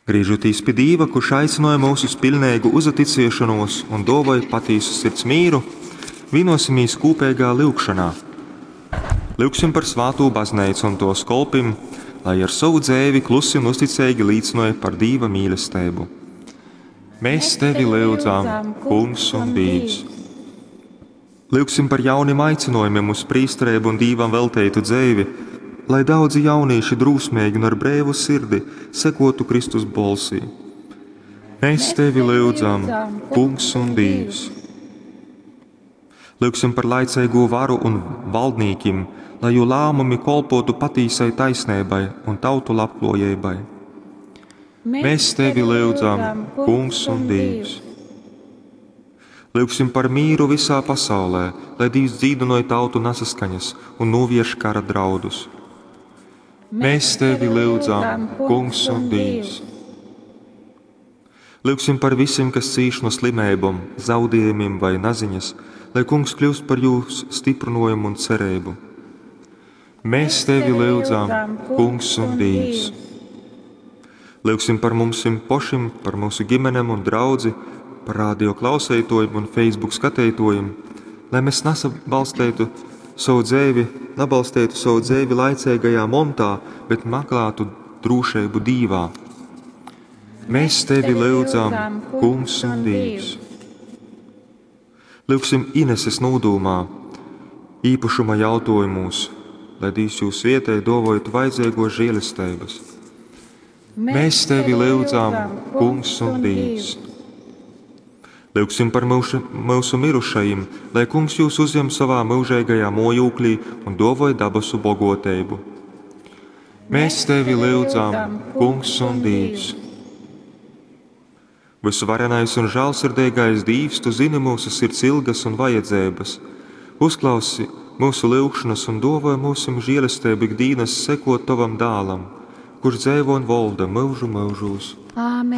Grīžotīs pi Dīva, kurš aicynoja mūs uz piļneigu uzaticiešonos un dōvoj patīsu sirds mīru, vīnosimīs kūpeigā lyugšonā. Lyugsim par svātū bazneicu un tōs kolpim, lai ar sovu dzeivi klusi un uzticeigi līcynoj par Dīva mīlesteibu. Mēs tevi lyudzam, Kungs un Dīvs! Lyugsim par jaunim aicinojumiem uz prīstereibu un Dīvam velteitu dzeivi, lai daudzi jaunīši drūsmeigi un ar breivu sirdi sekotu Kristus bolsī. Mēs tevi lyudzam, Kungs un Dīvs! Lyugsim par laiceigū varu un valdnīkim, lai jū lāmumi kolpotu patīsai taisneibai un tautu labklājībai. Mēs tevi lyudzam, Kungs un Dīvs! Lyugsim par mīru visā pasaulē, lai Dīvs dzīdynoj tautu nasaskaņas un novērš kara draudus. Mēs tevi lyudzam, Kungs un Dīvs! Lyugsim par visiem, kas cīš no slimībām, zaudējumiem vai naziņas, lai Kungs kļūst par jūs stiprinājumu un cerību. Mēs tevi lyudzam, Kungs un Dīvs! Lyugsim par mums pašim, par mūsu ģimenēm un draudzi, par radio klausētojiem un Facebook skatītojiem, lai mēs nesabalstītu savu dzeivi, nebalstītu savu dzeivi laicīgajā montā, bet meklētu drošību Dīvā. Mēs tevi lyudzam, Kungs un Dīvs! Lyugsim Ineses nūdūmā, īpašuma jautājumos, lai Dīvs jūs vietēji dovojot vajadzīgo žēlestības. Mēs tevi lyudzam, Kungs un Dīvs! Lyugsim par mūsu, mūsu mirušajiem, lai Kungs jūs uzņem savā mūžīgajā mojūklī un dovoj dabasu bogoteibu. Mēs tevi lyudzam, Kungs un Dīvs! Visuvarenais un žēlsirdīgais Dīvs, tu zini mūsu sirds ilgas un vajadzības. Uzklausi mūsu lūgšanas un dovoj mūsim žēlastību ikdienas sekot tavam dālam, kurš dzeivo un valda mūžu mūžos.